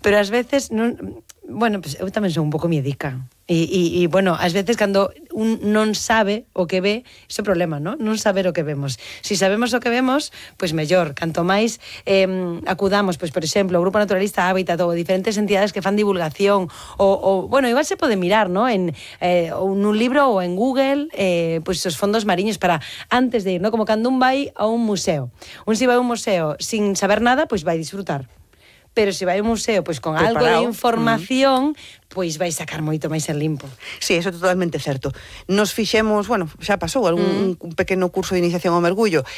Pero ás veces non... Bueno, pues eu tamén son un pouco miedica. E bueno, ás veces cando un non sabe o que ve, iso é problema, non? Non saber o que vemos. Si sabemos o que vemos, pois mellor. Canto máis acudamos, pois por exemplo, o Grupo Naturalista Hábitat ou diferentes entidades que fan divulgación ou bueno, igual se pode mirar, non? Ou nun libro ou en Google, pois os fondos mariños para antes de ir, non? Como cando un vai a un museo. Un si vai a un museo sin saber nada, pois vai disfrutar. Pero se vai a un museo pois con algo de información, pois vai sacar moito máis en limpo. Sí, eso é totalmente certo. Nos fixemos, bueno, xa pasou un pequeno curso de iniciación ao mergullo,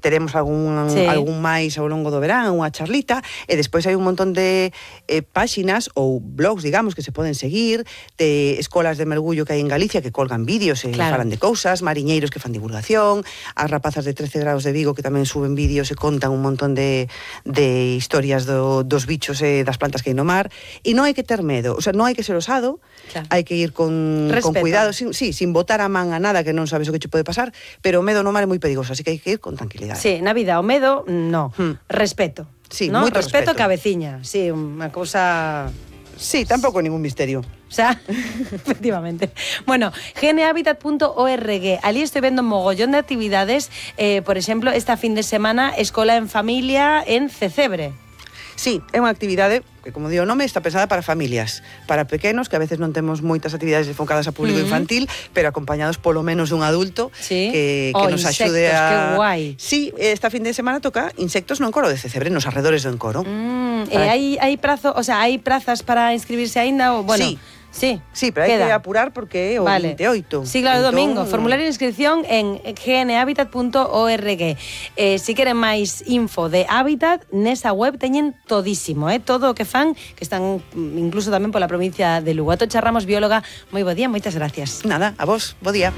teremos algún máis ao longo do verán, unha charlita, e despois hai un montón de páxinas ou blogs, digamos, que se poden seguir, de escolas de mergullo que hai en Galicia que colgan vídeos e falan de cousas, mariñeiros que fan divulgación, as rapazas de 13 grados de Vigo que tamén suben vídeos e contan un montón de historias dos bichos e das plantas que hai no mar, e non hai que ter medo, o sea, non hai que ser osado, hai que ir con cuidado, sin botar a man a nada que non sabes o que che pode pasar, pero o medo no mar é moi perigoso, así que hai que ir con tranquilidade. Sí, na vida, o medo, no. Respeto. Sí, ¿no? moito respeto. Cabeciña, sí, unha cousa... Sí, tampouco ningún misterio. O sea, efectivamente. Bueno, gnhabitat.org. Ali estoy vendo un mogollón de actividades. Por exemplo, esta fin de semana, Escola en Familia en Cecebre. Sí, é unha actividade que, como digo o nome, está pensada para familias, para pequenos, que a veces non temos moitas actividades enfocadas a público infantil, pero acompañados polo menos dun adulto que nos axude a... Que guai. Sí, esta fin de semana toca insectos no encoro de Cecebre, nos arredores do encoro. Hai prazo, o sea, hai prazas para inscribirse aínda? Bueno, sí, pero hai que apurar porque é o 28. Sí, claro, domingo. Formulario de inscripción en gnhabitat.org. Si queren máis info de Hábitat, nesa web teñen todísimo, todo o que fan, que están incluso tamén pola provincia de Lugo. Atocha Ramos, bióloga, moi bo día, moitas gracias. Nada, a vos, bo día.